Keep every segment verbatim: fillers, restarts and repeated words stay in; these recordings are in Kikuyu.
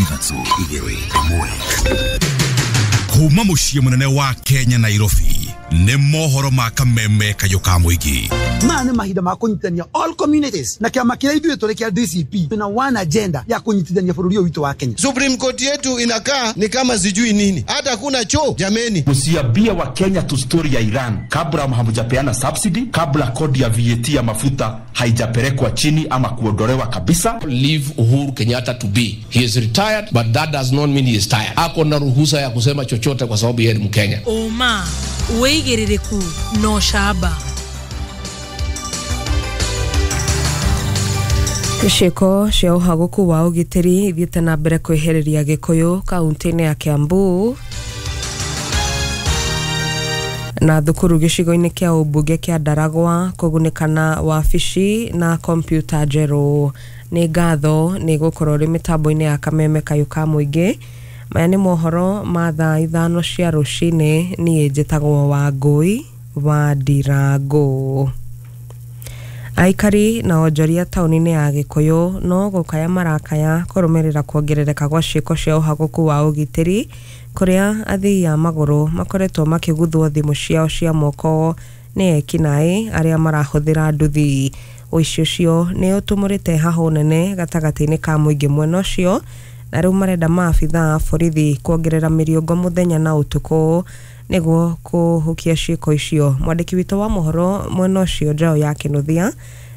Ithatũ, igĩrĩ, ĩmwe. Kuma mũciĩ mũnene wa Kenya, Nairobi, nĩ mohoro ma Kameme Kayũ ka Mũingĩ. Maya nĩ mahinda ma kũnyitithania all communities, na kĩama kĩrĩa ithuĩ tũrĩ kĩa D C P twĩna one agenda ya kũnyitithania bũrũri ũyũ witũ wa Kenya. Supreme Court yetu inakaa ni kama sijui nini, hata kuna choo jameni. Msiambie Wakenya tu story ya Iran kabla hamjapeana subsidy, kabla kodi ya V A T ya mafuta haijapelekwa chini ama kuondolewa kabisa. Leave Uhuru Kenyatta to be. He is retired, but that does not mean he is tired. Ako na ruhusa ya kusema chochote kwa sababu yeye ni Mkenya. Ũma, wĩigĩrĩrĩku na ũcamba. Ciĩko cia ũhagũku wa ũgitĩri ithiĩte na mbere kwĩhĩrĩria Gĩkũyũ kaunti-inĩ ya Kiambu, na thukuru gĩcigo-inĩ kĩa ũmbunge kĩa Ndaragwa kũgunĩka na wabici na kompiuta njerũ. Nĩ ngatho nĩ gũkorwo ũrĩ mĩtambo-inĩ ya Kameme Kayũ ka Mũingĩ. Maya nĩ mohoro ma thaa ithano cia rũcinĩ. Niĩ njĩtagwo Wangũi wa Ndirangũ. Aikari na onjoria taũni-inĩ ya Gĩkũyũ no gũkaya marakaya kũrũmĩrĩra kuongerereka gwa ciĩko cia ũhagũku wa ũgitĩri, kũrĩa athii a magũrũ makoretwo makĩguthwo thimũ ciao cia moko nĩ ekinaĩ arĩa marahũthĩra nduthi. Ũici ũcio nĩ ũtumũrĩte hahũ nene gatagatĩ-inĩ ka mũingĩ mwena ũcio, na rĩu marenda maabithaa a borithi kuongerera mĩriũngo mũthenya na ũtukũ nĩguo kũhukia ciĩko icio. Mwandĩki witũ wa mohoro mwena ũcio, Njaũ ya Kĩnuthia,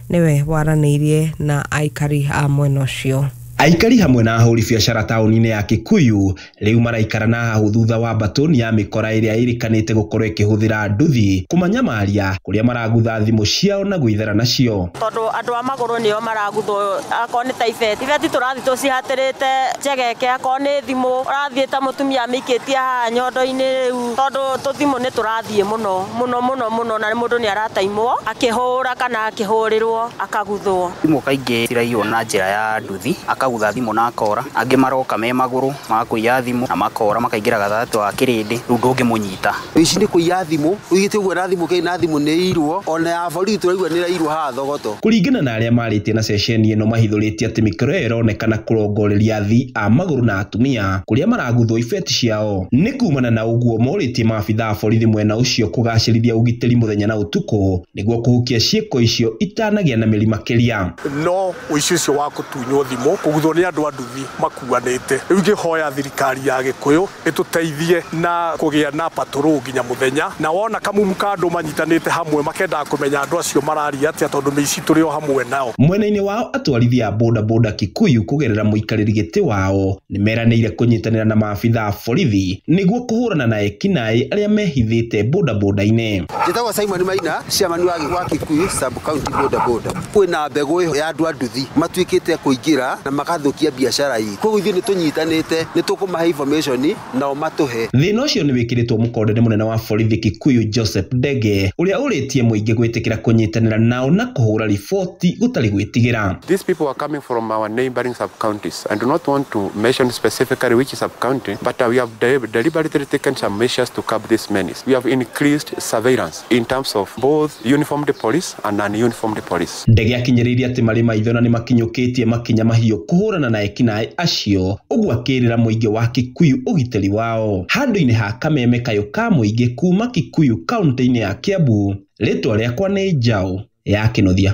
nĩwe waranĩirie na aikari a mwena ũcio. Aikari hamwe na ahũri biacara taũni-inĩ ya Kikuyu rĩu maraikara na hahũ thutha wa mbatũni ya mĩkora ĩrĩa ĩrĩkanĩte gũkorwo ĩkĩhũthĩra nduthi kũmanyamaria, kũrĩa maragutha thimũ ciao na gwĩthara nacio. Tondũ andũ a magũrũ nĩo maraguthwo, akorwo nĩ ta ibeti, ibeti tũrathiĩ tũcihatĩrĩte njegeke, akorwo nĩ thimũ ũrathiĩ ta mũtumia amĩikĩtie haha nyondo-inĩ rĩu, tondũ tũthimũ nĩ tũrathiĩ mũno mũno mũno mũno, na mũndũ nĩ arataimwo akĩhũra kana akĩhũrĩrwo akaguthwo. Thimũ kaingĩ ciraiywo na njĩra ya nduthi, akagutha thimũ na akora. Angĩ maroka me magũrũ magakũiya thimũ na makora, makaingĩra gatagatĩ wa kĩrĩndĩ, rĩu ndũngĩmũnyita. Ici nĩ kũiya thimũ ũigĩte ũguo, na thimũ kĩ na thimũ nĩ irwo, ona ya borithi tũraigua nĩ irairwo haha Thogoto. Kũringana na arĩa marĩtie na ceceni ĩno, mahithũrĩtie atĩ mĩkora ĩyo ĩronekana kũrongoreria athii a magũrũ na atumia, kũrĩa maraguthwo ibeti ciao. Nĩ kumana na ũguo morĩtie maabithaa a borithi mwena ũcio kũgacĩrithia ũgitĩri mũthenya na ũtukũ nĩguo kũhukia ciĩko icio itanagĩa na mĩri makĩria. No ũici ũcio wa kũtunywo thimũ, kũguthwo nĩ andũ a nduthi makuanĩte, rĩu ingĩhoya thirikari ya Gĩkũyũ ĩtũteithie na kũgĩa na patrol nginya mũthenya, na wona kamumu ka andũ manyitanĩte hamwe makendaga kũmenya andũ acio mararia atĩa, tondũ mĩici tũrĩ o hamwe nao. Mwena-inĩ wao, atwarithia a boda Kikuyu kũgerera mũikarĩri gĩtĩ wao nĩ meranĩire kũnyitanĩra na maabithaa a borithi nĩguo kũhũrana na ekinaĩ arĩa mehithĩte boda-inĩ. Njĩtagwo Simon Maina, chairman wa wa Kikuyu sub county boda boda. Kwĩna mbegũ ya andũ a nduthi matuĩkĩte kũingĩra na magathũkia biacara ii, koguo ithuĩ nĩ tũnyitanĩte, nĩ tũkũmahe information nao matũhe. Thĩna ũcio nĩ wĩkĩrĩtwo mũkonde nĩ mũnene wa borithi Kikuyu Joseph Ndege, ũrĩa ũrĩtie mũingĩ gwĩtĩkĩra kũnyitanĩra nao na kũhũra riboti gũtarĩ gwĩtigĩra. These people are coming from our neighboring sub-counties. I do not want to mention specifically which sub-county, but uh, we have de deliberately taken some measures to curb this menace. We have increased surveillance in terms of both uniformed police and non-uniformed police. Ndege akinyĩrĩirie atĩ marĩ maitho na nĩ makinyũkĩtie makinya mahiũ kũhũrana na ekinaĩ acio, ũguo akĩrĩra mũingĩ wa Kikuyu ũgitĩri wao. Handũ-inĩ ha Kameme Kayũ ka Mũingĩ kuma Kikuyu kaunti-inĩ ya Kiambu, rĩtwa rĩakwa nĩ Njaũ ya Kĩnuthia.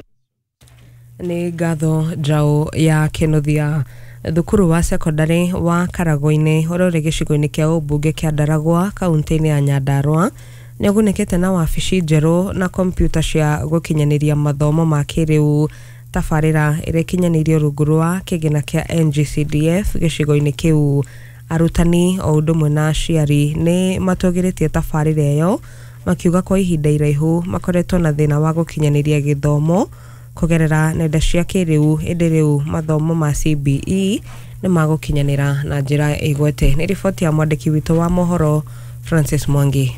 Nĩ ngatho, Njaũ ya Kĩnuthia. Thukuru wa sekondarĩ wa Karagũ-inĩ ũrĩa ũrĩ gĩcigo-inĩ kĩa ũmbunge kĩa Ndaragwa kaunti-inĩ ya Nyandarua nĩ ũgunĩkĩte na wabici njerũ na kompiuta cia gũkinyanĩria mathomo ma kĩrĩu. Tabarĩra ĩrĩa ĩkinyanĩirio rungu rwa kĩgĩna kĩa N G C D F gĩcigo-inĩ kĩu. Arutani o ũndũ ũmwe na aciari nĩ matũgĩrĩtie tabarĩra ĩyo, makiuga kwa ihinda iraihu makoretwo na thĩna wa gũkinyanĩria gĩthomo kũgerera nenda cia kĩrĩu, ĩndĩ rĩu mathomo ma C B E nĩ magũkinyanĩra na njĩra ĩgwete. Nĩ riboti ya mwandĩki witũ wa mohoro Francis Mwangi.